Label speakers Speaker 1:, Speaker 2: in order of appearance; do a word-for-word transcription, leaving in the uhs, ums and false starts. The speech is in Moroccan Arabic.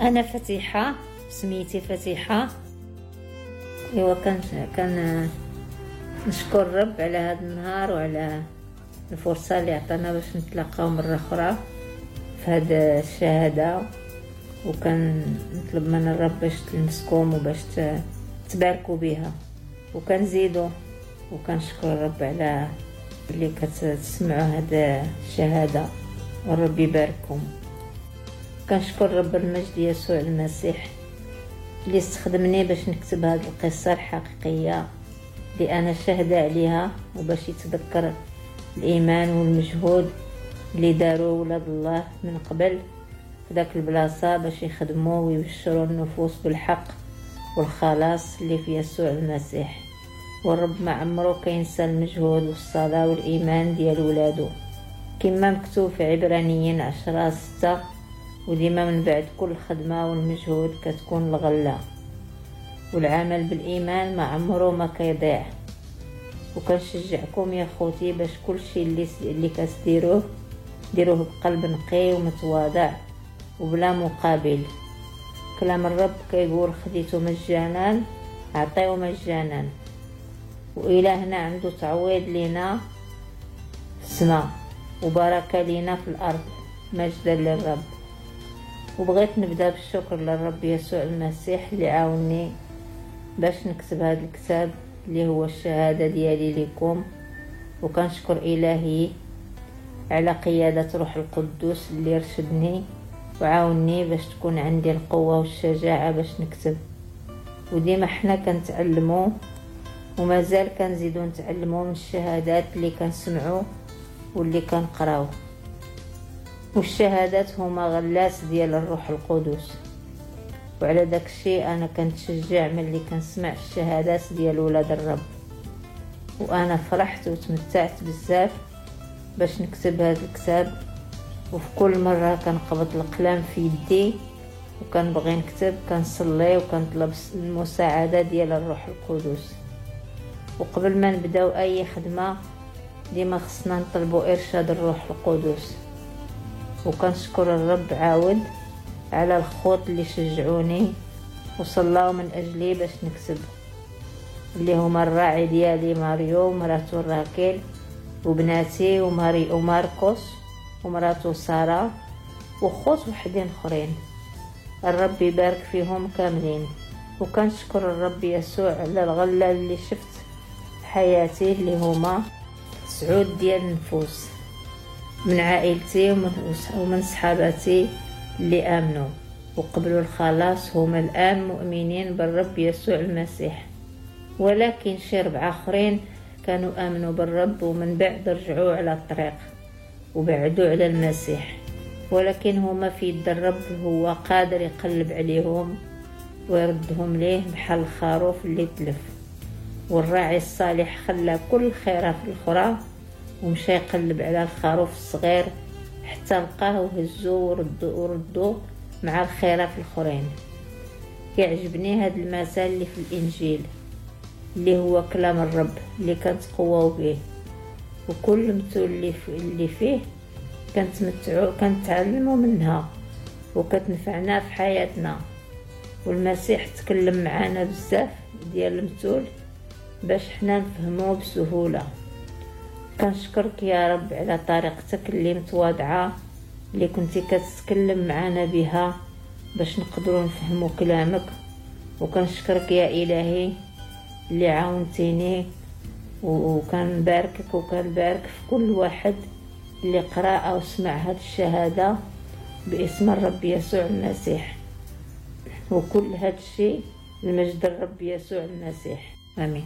Speaker 1: أنا فتيحة، سميتي فتيحة. إيوا كان كان نشكر الرب على هذا النهار وعلى الفرصة اللي عطانا باش نتلاقاو مرة أخرى في هذا الشهادة، وكان نطلب من الرب باش تلمسكم وباش تباركوا بها وكنزيدوا، وكنشكر الرب على اللي كتسمعوا هذا الشهادة، والرب يبارككم. كنشكر رب المجد يسوع المسيح اللي استخدمني باش نكتب هذه القصة الحقيقية اللي أنا شاهدة عليها، وباش يتذكر الإيمان والمجهود اللي داروا ولاد الله من قبل في ذاك البلاصة باش يخدموا ويبشروا النفوس بالحق والخلاص اللي في يسوع المسيح. والرب ما عمره كينسى المجهود والصلاة والإيمان ديال ولادو، كما مكتوب في عبرانيين عشرة ستة: وديما من بعد كل خدمة والمجهود كتكون الغلة، والعمل بالإيمان ما عمره ما كيضيع. وكنشجعكم يا خوتي باش كل شيء اللي اللي كتديروه ديروه بقلب نقي ومتواضع وبلا مقابل. كلام الرب كيقول: خديتو مجانا عطيو مجانا. وإلهنا عنده تعويض لينا في السماء وبركة لينا في الأرض، مجدا للرب. وبغيت نبدا بالشكر للرب يسوع المسيح اللي عاوني باش نكتب هذا الكتاب اللي هو الشهادة ديالي لكم. وكنشكر إلهي على قيادة روح القدوس اللي رشدني وعاوني باش تكون عندي القوة والشجاعة باش نكتب. وديما حنا كنتعلمو ومازال كنزيدو نتعلمو من الشهادات اللي كنسمعو واللي كنقراو، والشهادات هما غلاس ديال الروح القدس. وعلى داك الشيء انا كنتشجع ملي كنسمع الشهادات ديال ولاد الرب، وانا فرحت وتمتعت بزاف باش نكتب هذا الكتاب. وفي كل مرة كنقبض القلم في يدي وكنبغي نكتب كنصلي وكنطلب المساعدة ديال الروح القدس. وقبل ما نبداو اي خدمة ديما خصنا نطلبوا ارشاد الروح القدس. وكنشكر الرب عاود على الخوت اللي شجعوني وصلاو من اجلي باش نكتب، اللي هما الراعي ديالي ماريو ومراتو راكيل وبناتي وماري وماركوس ومراتو سارة وخوت وحدين اخرين. الرب يبارك فيهم كاملين. وكنشكر الرب يسوع على الغلة اللي شفت في حياتي، اللي هما تسعود ديال النفوس من عائلتي ومن صحاباتي اللي آمنوا وقبلوا الخلاص، هما الآن مؤمنين بالرب يسوع المسيح. ولكن شي ربعة آخرين كانوا آمنوا بالرب ومن بعد رجعوا على الطريق وبعدوا على المسيح، ولكن هما في يد الرب، هو قادر يقلب عليهم ويردهم ليه بحال الخروف اللي تلف. والراعي الصالح خلى كل خيره في الخرى ومشى يقلب على الخروف الصغير حتى لقاه وهزو وردو وردو مع الخيرة في الخرين. كيعجبني هاد المثال اللي في الإنجيل اللي هو كلام الرب اللي كنتقواو به، وكل مثل اللي اللي فيه كنتمتعو كنتعلمو منها وكتنفعنا في حياتنا. والمسيح تكلم معنا بزاف ديال المثول باش حنا نفهمو بسهولة. كنشكرك يا رب على طريقتك اللي متواضعة اللي كنتي كتتكلم معنا بها باش نقدروا نفهموا كلامك. وكنشكرك يا إلهي اللي عاونتيني، وكنباركك وكنبارك في كل واحد اللي قرأ أو سمع هذه الشهادة باسم الرب يسوع المسيح. وكل هذا الشيء لمجد الرب يسوع المسيح. آمين.